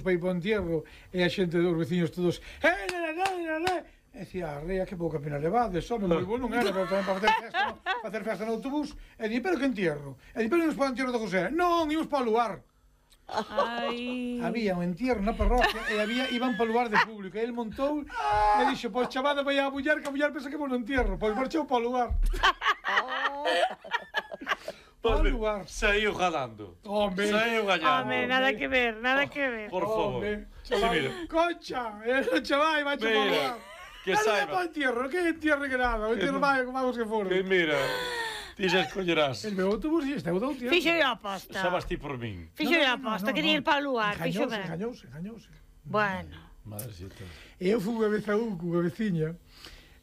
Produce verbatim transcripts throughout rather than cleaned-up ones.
para ir para o entierro e a xente dos veciños todos eh, nene, nene, nene e dicía, rea, que pouca pena levades, home, moi bon non era, pero tamén para facer festa no, para facer festa no autobús e di, pero que entierro? E di, pero imos para o entierro de José non, imos para o lugar. Ai. Había un entierro na parroquia e había, iban para o lugar de público e ele montou e dixo, pois chavada vai a mulher, que a mulher pensa que vou no entierro, pois marchou para o lugar. Para o lugar. Saiu galando. Home. Saiu gallando. Home, nada que ver, nada que ver. Por favor. Sí, mira. Concha, el chaval vai para o lugar. Que saiba. saiba. Para o entierro, que entierro que nada, o entierro vai, vamos que for. Que mira, ti xa escollerás. El meu autobús e este é o do entierro. Fixo a aposta. Sabas ti por min. Fixo a aposta, quería ir para o lugar, fixo Engañouse, ben. engañouse, engañouse. Bueno. Madrecita. E eu fui unha vez a un cunha veciña,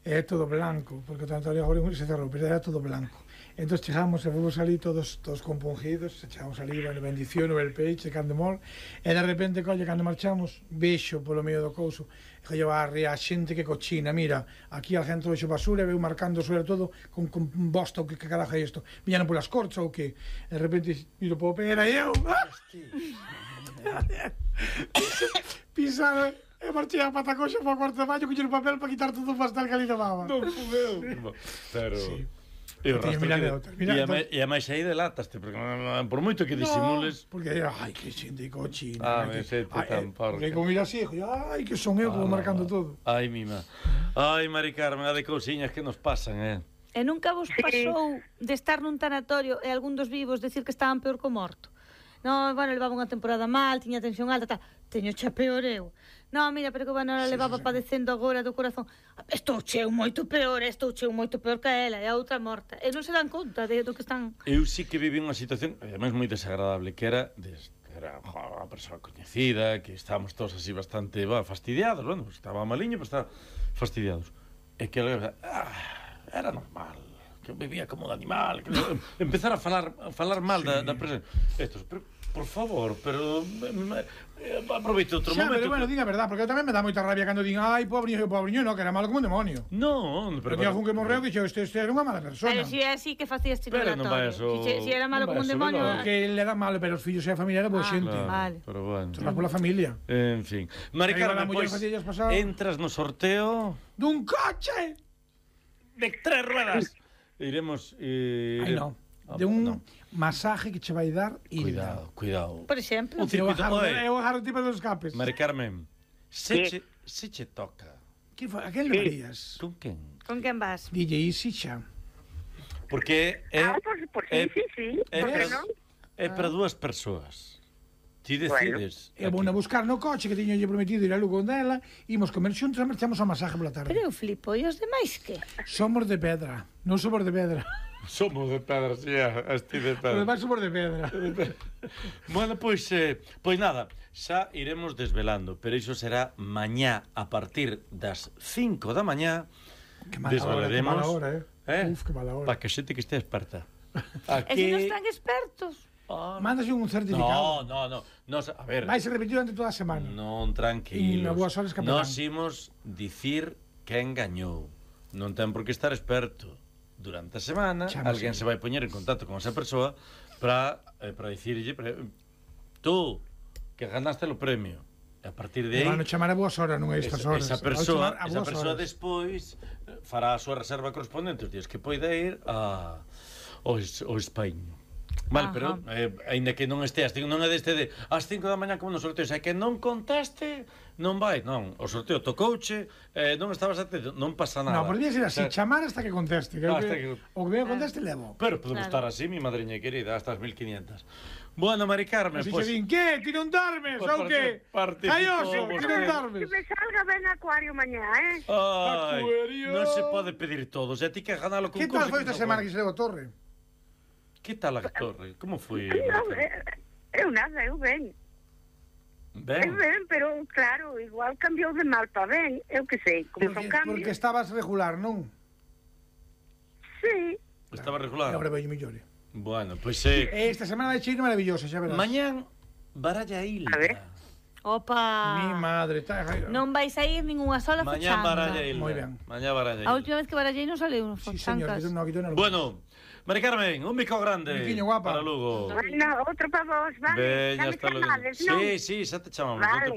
e é todo blanco, porque o tanto agora se cerrou, pero era todo blanco. Entón chegamos e fomos ali todos todos compungidos, chegamos ali, bueno, bendición, o el peixe, cando mor, e de repente, colle, cando marchamos, vexo polo medio do couso, e colle a ría, a xente que cochina, mira, aquí al centro vexo basura, e veu marcando sobre todo con, con bosta, o que, que carajo é isto, viñan polas corchas ou que, e de repente miro po pé, era eu, pisado, e marchei a patacoxa para o cuarto de baño, coñer o papel para quitar todo o pastel que ali levaba. Non fudeu. Pero... Sí. E o rastro que... Outra, mira, e, a máis, e a máis aí delataste, porque por moito que disimules... No, porque, ai, que xente cochina. Ah, que, me sete tan porca. Porque como mira así, ai, que son eu, como Ah, marcando todo. Ai, mima. Ai, Mari Carmen, a de cousiñas que nos pasan, eh? E nunca vos pasou de estar nun tanatorio e algún dos vivos decir que estaban peor co morto? No, bueno, levaba unha temporada mal, tiña tensión alta, tal. Teño xa peor eu. No, mira, pero que bueno, ela levaba sí, sí, padecendo agora do corazón. Estou cheo moito peor, estou cheo moito peor que ela, e a outra morta. E non se dan conta de do que están... Eu sí que viví unha situación, además moi desagradable, que era... De, era unha persoa coñecida, que estábamos todos así bastante bah, fastidiados, bueno, estaba maliño, pero estaba fastidiados. E que ela... Ah, era normal, que vivía como de animal, que empezar a falar, a falar mal sí, da, da presencia. Estos, pero... Por favor, pero eh, aproveito outro xa, momento. Pero bueno, diga a verdade, porque tamén me dá moita rabia cando din, ai, pobriño, pobriño, no, que era malo como un demonio. No, pero que algún que morreu que este, este era unha mala persona. Pero si é así que facías titulatorio. Pero non vai eso... Si, si era malo como un demonio... Porque ele era malo, pero os fillos e a familia era boa ah, xente. Claro, vale. Pero bueno. Tornar pola familia. En fin. Mari Carmen, pois, entras no sorteo... Dun coche! De tres ruedas. Iremos... Eh, Ai, non. De un no. masaje que che vai dar e cuidado, cuidado. Por exemplo, un circuito, eu agarro tipo dos escapes. Mari Carmen, se che, se che toca. Que foi? A quen le varías? Con quen? Con quen vas? D J Easy xa. Porque é Ah, por, por sí, sí, sí. É, ¿por para, non? é para dúas persoas. Ti decides. Eu vou a buscar no coche que tiño lle prometido ir a Lugo dela, imos comer xuntos e marchamos ao masaje pola tarde. Pero eu flipo, e os demais que? Somos de pedra, non somos de pedra. Somos de pedra, si, esti de pedra. Os demais somos de pedra. Bueno, pois, eh, pois nada, xa iremos desvelando, pero iso será mañá a partir das cinco da mañá. Que mala hora, que mala hora, eh? eh? Uf, que mala hora. Para que xente que este experta. Aquí... E se non están expertos? Ah, mándase un certificado. No, no, no, no, a ver. Vai se repetir durante toda a semana. Non, tranquilos. E boas horas que Nos imos dicir quen gañou. Non ten por que estar experto. Durante a semana, Chama alguén sí. se vai poñer en contacto con esa persoa para eh, para dicirlle para, tú, que ganaste o premio. E a partir de aí... Van a chamar a boas horas, non a estas horas. Esa persoa, esa persoa despois fará a súa reserva correspondente os días que poida ir a, ao, ao Españo. Vale, pero eh, ainda que non esteas, non é deste de ás cinco da mañá como no sorteo, é que non contaste, non vai, non, o sorteo tocouche, eh, non estabas atento, non pasa nada. Non, podría ser así, o sea, chamar hasta que conteste, que, hasta que, que... o que me conteste levo. Pero podemos claro. estar así, mi madriña querida, hasta as mil quinientas. Bueno, Mari Carmen, así pues... se din, que, ti non dormes, ou que? Caioso, ti non dormes. Que me salga ben acuario mañá, eh? Ai, acuario. Non se pode pedir todo, se ti que ganalo con que tal foi esta semana que se levou a torre? Que tal a torre? Como foi? Non, eu nada, eu ben. Ben? Eu ben, pero claro, igual cambiou de mal para ben, eu que sei, como porque, son cambios. Porque estabas regular, non? Sí. Estaba regular. E agora vai mellore. Bueno, pois pues, eh... Esta semana vai cheiro maravillosa, xa verás. Mañán, Baralla Ilha. A ver. Opa. Mi madre, está... Non vais a ir ningunha sola fachanga. Mañán Baralla Ilha. Moi ben. Mañán Baralla Ilha. A última vez que barallei non saleu, sí, señor, que non, que non, bueno, Mari Carmen, un bico grande. Biquiño guapa. Para Lugo. Bueno, outro para vos, vale? Veña, Xa me hasta logo. chamades, non? Sí, sí, xa te chamamos. Vale.